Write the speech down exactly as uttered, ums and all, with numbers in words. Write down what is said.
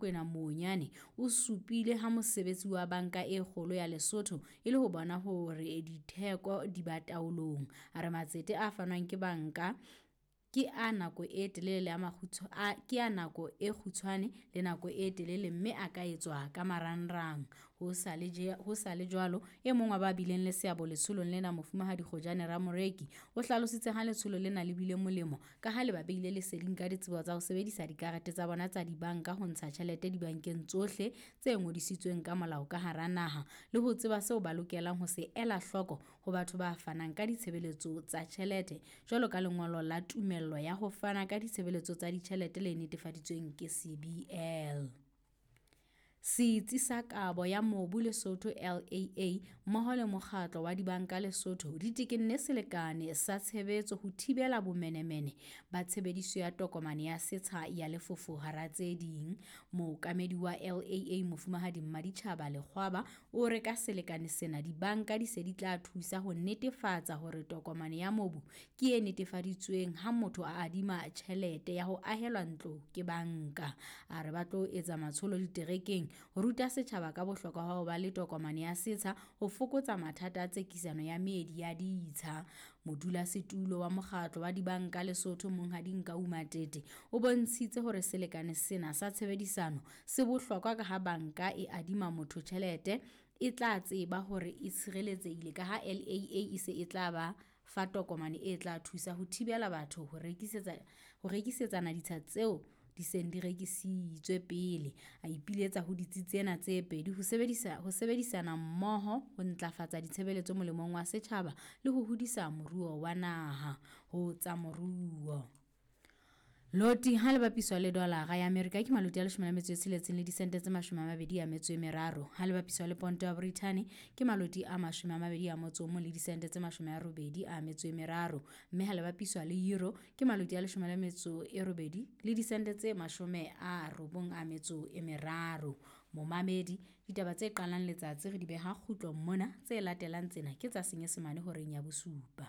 Kwena Monyane o supile ha mosebetsi wa banka e kgolo ya Lesotho e le ho bona hore ditheko di ba taolong. A re matsete a fanwang ke banka ke a nako e telele le a a, ke a nako e kgutshwane le nako e telele mme a ka etswa ka marangrang. Ho sa le je, ho sa le jwalo, e mong wa ba bileng le seabo letsholong lena, Mofumahadi Kgojane Ramoreki, o hlalositse ha letsholo lena le bile molemo ka ha le ba beile leseding ka ditsebo tsa ho sebedisa dikarete tsa bona tsa dibanka ho ntsha tjhelete dibankeng tsohle tse ngodisitsweng ka molao ka hara naha le ho tseba seo ba lokelang ho se ela hloko ho batho ba fanang ka ditshebeletso tsa tjhelete jwalo ka lengolo la tumello ya ho fana ka ditshebeletso tsa ditjhelete le netefaditsweng ke C B L. Setsi sa Kabo ya Mobu Lesotho L A A mmoho le mokgatlo wa dibanka Lesotho di tekenne selekane sa tshebetso ho thibela bomenemene ba tshebediso ya tokomane ya setsha ya lefofo hara tse ding. Mookamedi wa L A A Mofumahadi Mmaditjhaba Lekgwaba o re ka selekane sena dibanka di se di tla thusa ho netefatsa hore tokomane ya mobu ke e netefaditsweng ha motho a adima tjhelete ya ho ahelwa ntlo ke banka. A re ba tlo etsa matsholo diterekeng ho ruta setjhaba ka bohlokwa ba ho ba le tokomane ya setsha ho fokotsa mathata a tsekisano ya meedi ya ditsha. Modulasetulo wa mokgatlo wa dibanka Lesotho Monghadi Nkau Matete o bontshitse hore selekane sena sa tshebedisano se bohlokwa ka ha banka e adima motho tjhelete e tla tseba hore e tshireletsehile ka ha L A A e se e tla ba fa tokomane e tla thusa ho thibela batho ho rekisetsa, ho rekisetsana ditsha tseo di seng di rekisitswe pele. A ipiletsa ho ditsi tsena tse pedi ho sebedisa, ho sebedisana mmoho ho ntlafatsa ditshebeletso molemong wa setjhaba le ho hodisa moruo wa naha. Ho tsa moruo. Loti ha le bapiswa le dolara ya Amerika ke maloti a leshome le metso e tsheletseng le disente tse mashome a mabedi a metso e meraro. Ha le bapiswa le ponto ya Brithani ke maloti a mashome a mabedi a motso o mong le disente tse mashome a robedi a metso e meraro. Mme ha le bapiswa le euro ke maloti a leshome le metso e robedi le disente tse mashome a robong a metso e meraro. Momamedi, ditaba tse qalang letsatsi re di beha kgutlong mona, tse latelang tsena ke tsa Senyesemane horeng ya bosupa.